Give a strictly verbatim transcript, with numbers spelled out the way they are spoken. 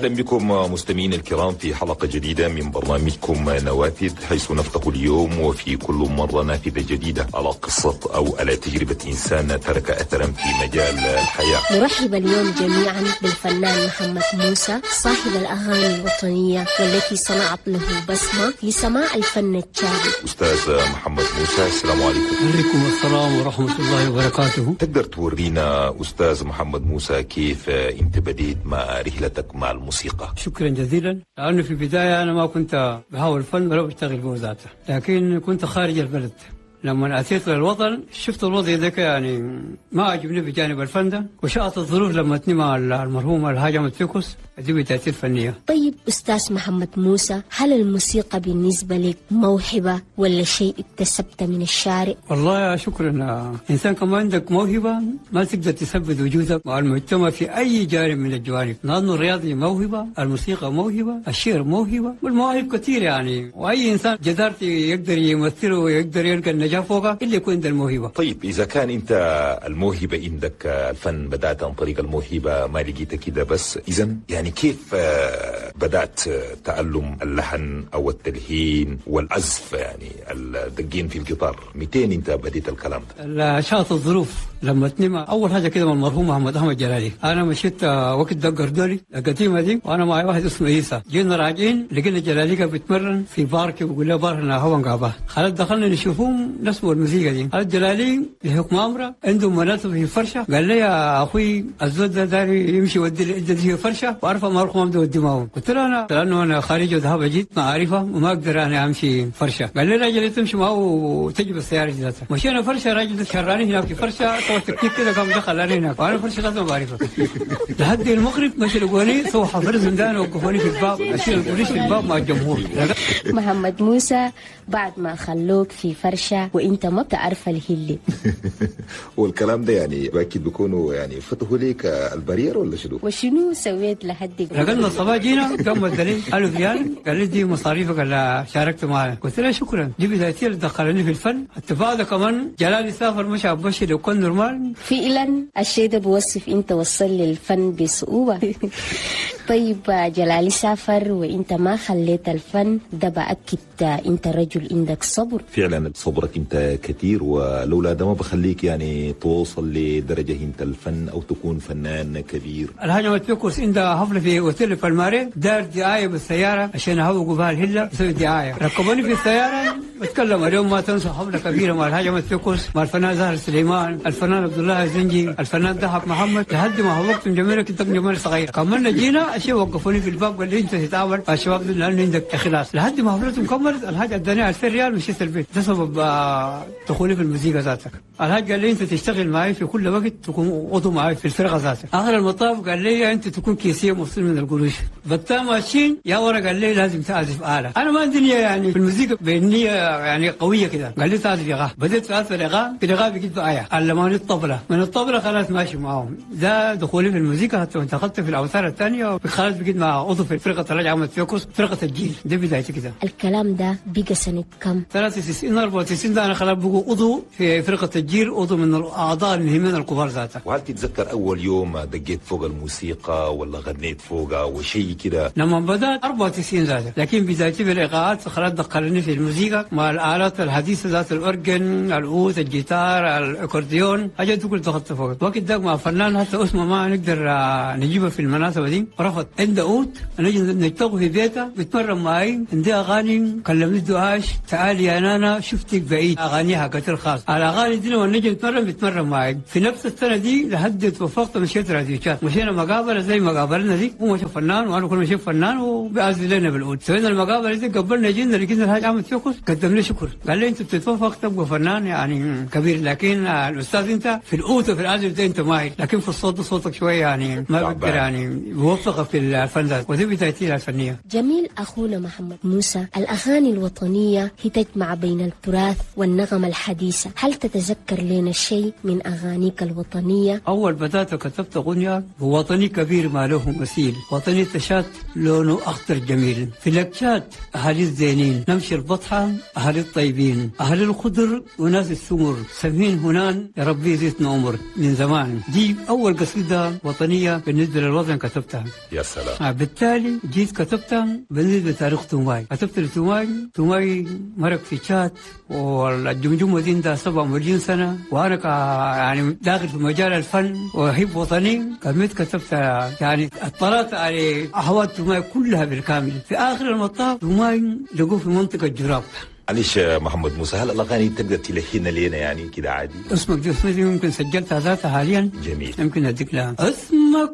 أهلا بكم مستمعين الكرام في حلقة جديدة من برنامجكم نوافذ، حيث نفتح اليوم وفي كل مرة نافذة جديدة على قصة أو على تجربة إنسان ترك أثرا في مجال الحياة. نرحب اليوم جميعا بالفنان محمد موسى، صاحب الأغاني الوطنية والتي صنعت له بصمة في سماع الفن التشادي. أستاذ محمد موسى، السلام عليكم. عليكم السلام ورحمة الله وبركاته. تقدر تورينا أستاذ محمد موسى كيف أنت بديت مع رحلتك مع الموسيقى؟ شكرا جزيلا. لأنه في البداية أنا ما كنت بهوى الفن ولا بشتغل به ذاته، لكن كنت خارج البلد. لما أتيت للوطن شفت الوضع ذاك، يعني ما عجبني بجانب الفن ده، وشاءت الظروف لما مع المرحوم الحاج أحمد فيكوس دي بدايتي الفنية. طيب أستاذ محمد موسى، هل الموسيقى بالنسبة لك موهبة ولا شيء اكتسبته من الشارع؟ والله شكرا. إنسان كمان عندك موهبة ما تقدر تثبت وجودك مع المجتمع في أي جانب من الجوانب، لأنه الرياضي موهبة، الموسيقى موهبة، الشعر موهبة، والمواهب كثير يعني، وأي إنسان جدارتي يقدر يمثله ويقدر يلقى النجاح فوقه اللي يكون عنده الموهبة. طيب إذا كان أنت الموهبة عندك الفن، بدأت عن طريق الموهبة ما لقيتها كده بس، إذا يعني كيف بدأت تعلم اللحن أو التلحين والعزف، يعني الدقين في الجيتار؟ مئتين أنت بديت الكلام ده؟ شاءت الظروف لما تنمى أول حاجة كده من المرحوم محمد أحمد جلالي، أنا مشيت وقت دق الدولي القديمة دي، وأنا معي واحد اسمه عيسى، جينا راجعين لقينا جلالي كان بيتمرن في بارك، وبيقول له بارك أنا هو قابه، خلاص دخلنا نشوفهم نسمع الموسيقى دي. قال جلالي بحكم أمره عنده مناسبة في فرشة، قال لي يا أخوي الزول ده داري يمشي يودي في فرشة وأعرفه ما أروح ما بدي أودي معه. قلت له أنا لأنه أنا خارج وذهب جيت ما أعرفه وما أقدر أنا أمشي فرشة. قال لي راجل تمشي معه وتجيب السيارة ذاتها. مشينا فرشة، راجل شراني هناك في فرشة سوى تكتيك كده قام دخل علي هناك وأنا فرشة لازم بعرفها. لحد المغرب مشي لقوني سوى حفر زندان وقفوني في الباب، أشيل البوليس في الباب مع الجمهور. محمد موسى بعد ما خلوك في فرشة وانت ما بتعرف الهلي والكلام ده يعني اكيد بيكونوا يعني فتحوا ليك ال barrière ولا شنو؟ وشنو سويت لحد رجلنا الصباح جينا قام الدليل ألف ريال، قال لي دي مصاريفك اللي شاركت معنا. قلت له شكرا، دي بدايتي اللي دخلني في الفن. حتى بعد كمان جلالي سافر مش عبشي لو كان normal. فعلا الشيء ده بوصف انت وصل للفن بصعوبة. طيب جلالي سافر وانت ما خليت الفن ده، بأكد انت رجل عندك صبر. فعلا صبرك انت كثير، ولولا ده ما بخليك يعني توصل لدرجة انت الفن او تكون فنان كبير. الحاج أحمد فيكوس عنده حفلة في اوتيل بالماري، دار دعاية بالسيارة عشان يهوقوا بها الهلة يسوي دعاية. ركبوني في السيارة بتكلم اليوم ما تنسوا حفلة كبيرة مع الحاج أحمد فيكوس، مع الفنان زهر سليمان، الفنان عبد الله الزنجي، الفنان ضحك محمد، لحد ما هوقت جميلة كنت جميلة صغيرة. كملنا جينا الشيء وقفوني في الباب قال لي انت تتعامل مع الشباب لانه عندك اخلاص. لحد ما حفلتهم كملت الحاج اداني ألفين ريال مشيت البيت. ده سبب دخولي في الموسيقى ذاتك. الحاج قال لي انت تشتغل معي في كل وقت، تكون عضو معي في الفرقة ذاتك. اخر المطاف قال لي انت تكون كيسيه مفصول من القروش. بتا ماشيين يا ورا قال لي لازم تعزف آلة. انا ما عندي نيه يعني في الموسيقى بنيه يعني قوية كده. قال لي تعزف ايقاع. بديت اعزف الايقاع، في الايقاع بقيت بآية علموني الطبلة، من الطبلة خلاص ماشي معاهم. ده دخولي في الموسيقى حتى انتقلت في الاوتار الثانية خلاص بقيت مع عضو في فرقه الحاج أحمد فيكوس، فرقه الجيل. دي بدايتي كده. الكلام ده بقى سنة كم؟ ثلاثة وتسعين أربعة وتسعين ده انا خلاص بقوا عضو في فرقه الجيل، عضو من الاعضاء المهمين الكبار ذاتها. وهل تتذكر اول يوم دقيت فوق الموسيقى ولا غنيت فوقها وشيء كده؟ لما بدات أربعة وتسعين ذاتها، لكن بدايتي في الايقاعات خلاص دخلني في الموسيقى مع الالات الحديثة ذات الاورجن، العود، الجيتار، الاكورديون، حاجات كل دخلت فوق. وقت ده مع فنان حتى اسمه ما نقدر نجيبه في المناسبة دي، رفض. عنده عود نجي نلتقي في بيته بيتمرن معي، عندي اغاني كلمني دعاش تعالي يا نانا شفتك بعيد، اغانيها كثير خاص. الاغاني دي لما نجي نتمرن بيتمرن معي. في نفس السنة دي لحد توفقت مشيت راديو شات، مشينا مقابله زي مقابلنا دي، هو مشى فنان وانا كل مشيت فنان وبيعزف لنا بالعود. سوينا المقابلة دي قبلنا جينا لقينا الحاج أحمد فيكوس قدم لي شكر، قال لي انت بتتوفق تبقى فنان يعني كبير، لكن الاستاذ انت في العود وفي العزف ده انت ماهر، لكن في الصوت صوتك شوية يعني ما بقدر يعني بوفقك في الفن ده. ودي بدايتي الفنية. جميل اخونا محمد موسى، الاغاني الوطنية هي تجمع بين التراث والنغمه الحديثة، هل تتذكر لنا شيء من اغانيك الوطنية؟ اول بدات كتبت اغنية وطني كبير ما له مثيل، وطني تشات لونه اخضر جميل، في لكشات اهالي الزينين، نمشي البطحه اهالي الطيبين، اهل الخضر وناس السمر، سمين هنان يا ربي زيتنا عمر من زمان. دي اول قصيدة وطنية بالنسبة للوطن كتبتها. يا سلام. آه بالتالي جيت كتبتها بالنسبة لتاريخ توماي، كتبت لتوماي، توماي مرق في تشاد والجمجمة دي عندها سبعة مليون سنة، وأنا ك يعني داخل في مجال الفن وأحب وطني، قمت كتبت يعني اطلعت على أحوال توماي كلها بالكامل. في آخر المطاف توماي لقوه في منطقة جراب. معلش محمد موسى، هل الاغاني تقدر تلحنها لنا يعني كده عادي؟ اسمك دي اسمي يمكن سجلتها ذاتها حاليا. جميل. يمكن اديك لها اسمك.